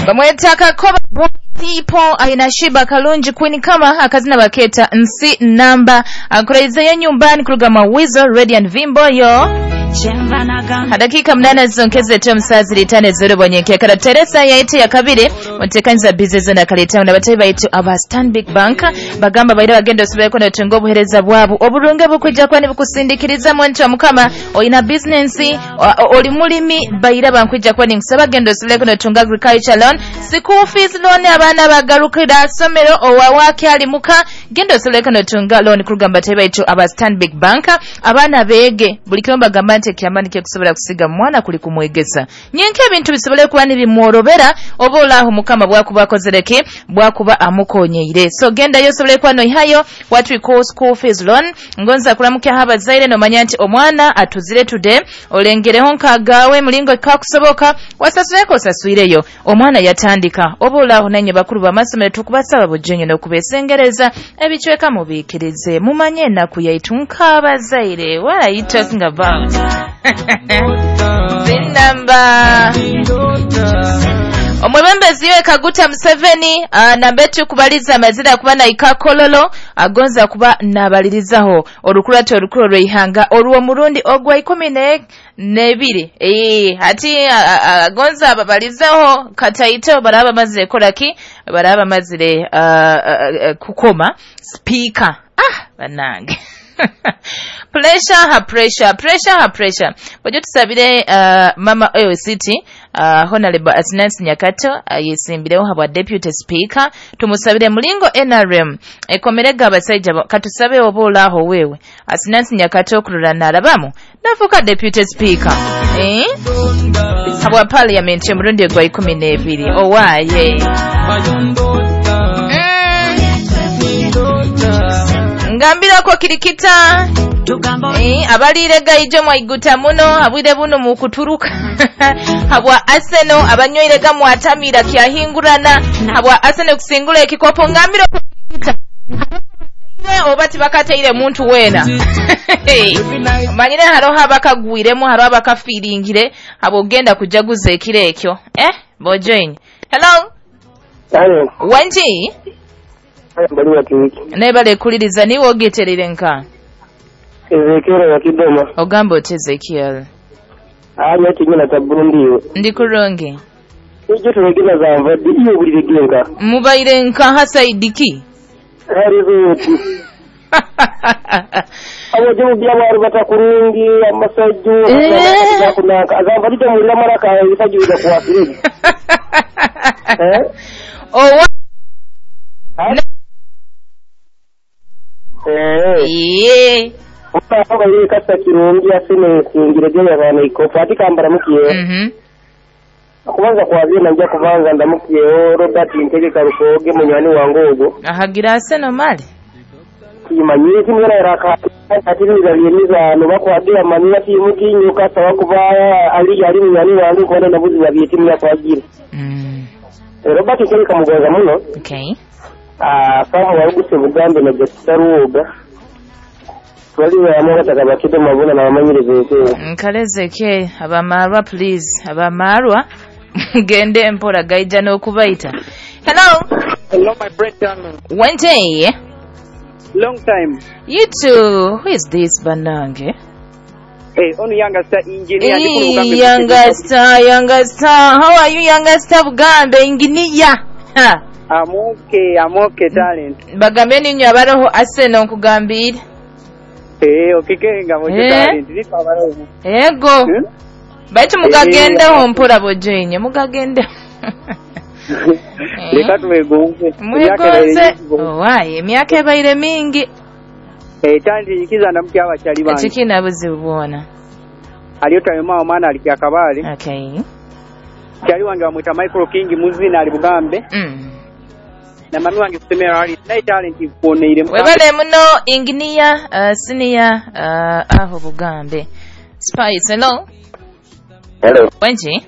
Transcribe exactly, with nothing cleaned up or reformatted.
Bamweta Kakoba Boy People aina Shiba Kalungi Queen kama akazina baketa nsi namba akuraizeyo nyumbani kuruga Wizo Radiant Vimbo yo dakika mnana zonkeze tu msazi litane zero bonyeke kada Teresa yaite ya kabiri mutekanza bizezo na kaleta na batayi baitu aba Stanbic Bank bagamba baira bagenda osubeko na tungo buhereza bwabu oburunge bukujja kwani bukusindikiriza mwentu mukama oyina business oli mulimi baira bankujja kwani nkusaba genda osubeko na tunga agriculture loan school fees loan abaana bagarukira somero owawake ali muka genda osubeko na tunga loan kurugamba batayi baitu aba Stanbic Bank abaana bege buli kimu bagamba nti ekyamani kyekusobola kusiga mwana kuli kumwegesa nyenke ebintu bisobole kuba nibimworobera oba olaaho mukama bwakuba akozereke bwakuba amukonyeire so genda yo osobole kuba noihayo what we call school fees loan ngonza kulamukyaho abazaire nomanya nti omwana atuzire today olengereho nkagawe mulingo kakusoboka wasasuleko osasuireyo omwana yatandika oba olaaho nanye bakulu bamasomero tukubasaba bujenyo n'okubesengereza ebicweka mubiikirize mumanye ennaku yaitu nk'abazaire. What are you talking about? Zinamba omwebembezi we Kaguta Museveni uh, nambetu kubaliza amazira kuba na ikakololo agonza kuba nabalirizaho olukulate olukulu lweihanga olwo murundi ogwa ikumi ne nebiri eh ati agonza ababalizaho kataito baraba mazire kolaki baraba mazire uh, uh, uh, kukoma speaker ah banange pressure ha pressure pressure ha pressure bwajo tusabire uh, mama Oyo City uh, Honorable Asinansi Nyakato uh, yesimbireho habwa deputy speaker tumusabire mulingo N R M ekomerega abasajja katusabe obola aho wewe Asinansi Nyakato kurura narabamu nafuka deputy speaker eh habwa parliament murundi gwa ikumi n'ebiri owaye mm. Ngambirako kirikita eh abalire gaijo mwaiguta muno abwire buno mu kuturuka habwa Arsenal abanyoirega mwatamira kyahingurana habwa Arsenal kusingula ekikopo ngambiro kirikita oba tibakateire muntu wena manyire haro abakagwiremu haro abakafiringire abo genda kujaguza ekiro ekyo eh bojoin. Hello. Hello. Wanji nebale kuliriza niwe ogeterere nka Ezekiel wa Kidoma. Ogamba oti Ezekiel anya kinyina ta Burundi ndi kurungi ejo turegena zamva iyo bulire genka mubaire nka hasaidiki harizuti abo je mubya baru batakurungi amasajju akunaka azamba dite mulira maraka ifajuza kuwasiri eh owa eh ye Oba yeye kasa kirungi asine singire je yabana ikopo ati kambara mukiye mhm akubanza kwazina nja kubanza ndamukiye Robert Ntege Karukoge munywani wangu ogo ahagira aseno mali kimanyire kimera raka ati nizaliemiza no bakwagira manira timukinyuka sawa kuba ali ali munywani wangu kona nabuzi ya timu ya kwagira mm Robert Ntege kamugoza muno okay ah sawa waruguse Bugambe na Jasaruoga twaliwe amora takabakide mabona na bamanyireze nkalezeke abamarwa please abamarwa gende mpora gaija n'okubaita. Hello. Hello my friend. Wente. Long time. You too. Who is this banange? Hey, onu younger star engineer. Hey, younger star, younger star. How are you younger star Bugambe engineer? Ha. I'm okay, I'm okay talent. Bagambe ninyo abaroho Arsenal nkugambire. Eh, okikenga mu talent. Ndiko Ego. Hmm? Baitu mugagendeho mpora bojenye mugagende. Leka twegonze. Mwegonze. Owaye emyaka ebaire mingi. Eh, talent ikiza ndamukya abakyali bange. Ekikina buzibu bwona. Aliyo tayoma omwana ali kyakabale. Okay. Kyali wange bamwita Michael King muzina ali Bugambe. Mm. Na mami wange kusemera ali naye talent ikuoneire. Webale muno engineer uh, senior uh, aho Bugambe. Spice hello. Hello. Wenji?